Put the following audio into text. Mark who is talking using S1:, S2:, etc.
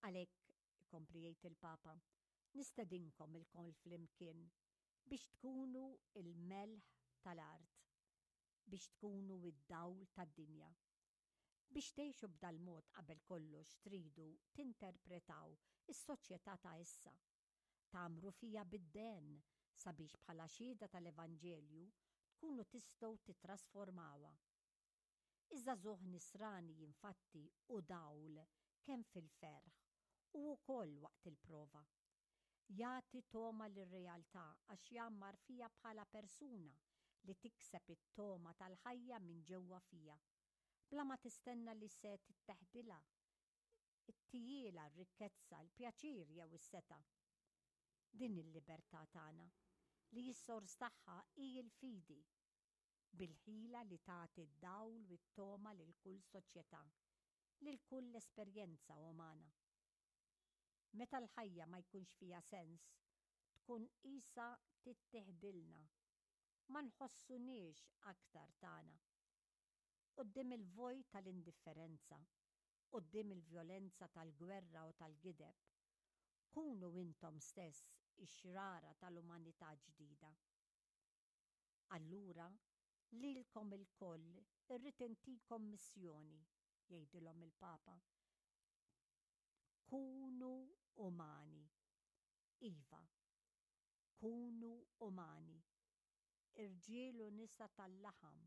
S1: Għalhekk, ikompli jgħid il-Papa, nistedinkom ilkoll flimkien biex tkunu l-melħ tal-art, biex tkunu d-dawl tad-dinja. Biex tgħixu b'dal-mod qabel kollox tridu tinterpretaw is-soċjetà ta' issa. Tgħammru fiha bid-dehen sabiex bħala xhieda tal-Evanġelju tkunu tistgħu tittrasformawha. Iż-żagħżugħ Nisrani infatti hu dawl kemm fil-ferħ u wkoll waqt il-prova. Jagħti togħma lir-realtà għax jgħammar fiha bħala persuna li tikseb it-togħma tal-ħajja minn ġewwa fiha, bla ma tistenna li se titteħdilha, ittijielha r-rikkezza, il-pjaċir jew is-setgħa. Din hi l-libertà tagħna, li s-sors tagħha hi l-fidi, bil-ħila li tagħti d-dawl u t-togħma lil kull soċjetà, lil kull esperjenza umana. Meta l-ħajja ma jkunx fiha sens, tkun qisha tittiħdilna, ma nħossuniex aktar tagħna. Quddiem il-vojt tal-indifferenza, quddiem il-vjolenza tal-gwerra u tal-gideb, kunu intom stess ix-xrara tal-umanità ġdida. Allura, lilkom ilkoll irrid intikom missjoni, jgħidilhom il-Papa. Kunu umani. Iva, kunu umani. Irġiel u nisa tal-laħam.